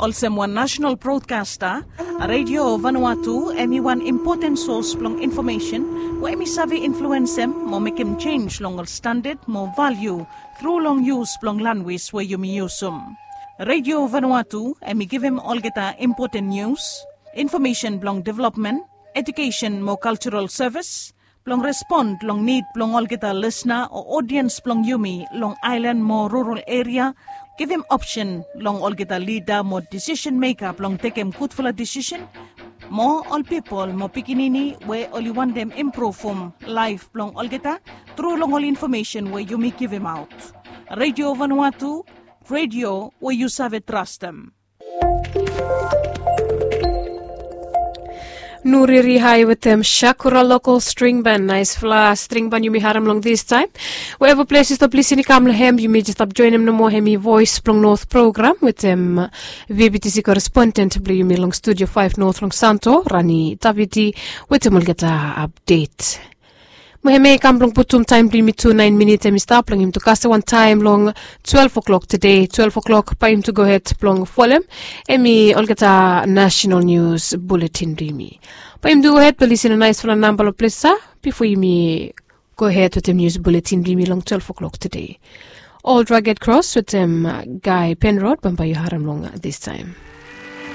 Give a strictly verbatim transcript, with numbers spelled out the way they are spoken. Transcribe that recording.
Olsem wan nasenal brodkasta, Redio Vanuatu hem i wan impoten sos blong infomesen we hem i save influensem mo mekem jenj long ol standad mo valiu tru long yus blong lanwis we yumi yusum. Redio Vanuatu hem i givim olgeta impoten nius, infomesen blong developmen, ejukesen mo kaljaral sevis, blong respon long nid blong olgeta lisna o odiens blong yumi long aelan mo rural eria, givim opsen long olgeta lida mo disisen meka blong tekem gudfala disisen, mo ol pipol mo pikinini we oli wantem impruvum laef blong olgeta tru long ol infomesen we yumi givimaot. Redio Vanuatu, redio we yu save trastem. Nuriri hai wetem Shakura Local String Band. Naesfala string band yumi harem long distaem. Wherever ples yu stap lisin i kam long hem, yumi jes stap joenem nomo hem i Voes blong Not program wetem V B T C korespondent blong yumi long studio faef Not long Santo, Rani Davidi, wetem olgeta apdet. Mo hemia i kam blong putum taem blong yumi tu naen minit hem i stap blong yumi tu kasem wan taem long twelve o'clock tede. Twelve o'clock bae yumi tu gohed blong folem hem i olgeta nasenal nius buletin blong yumi. Bae yumi tu gohed blong lisin long naesfala namba long ples ya bifo yumi gohed wetem nius buletin blong yumi long twelve o'clock tede. Ol Rugged Cross wetem Guy Penrod bambae yu harem long distaem.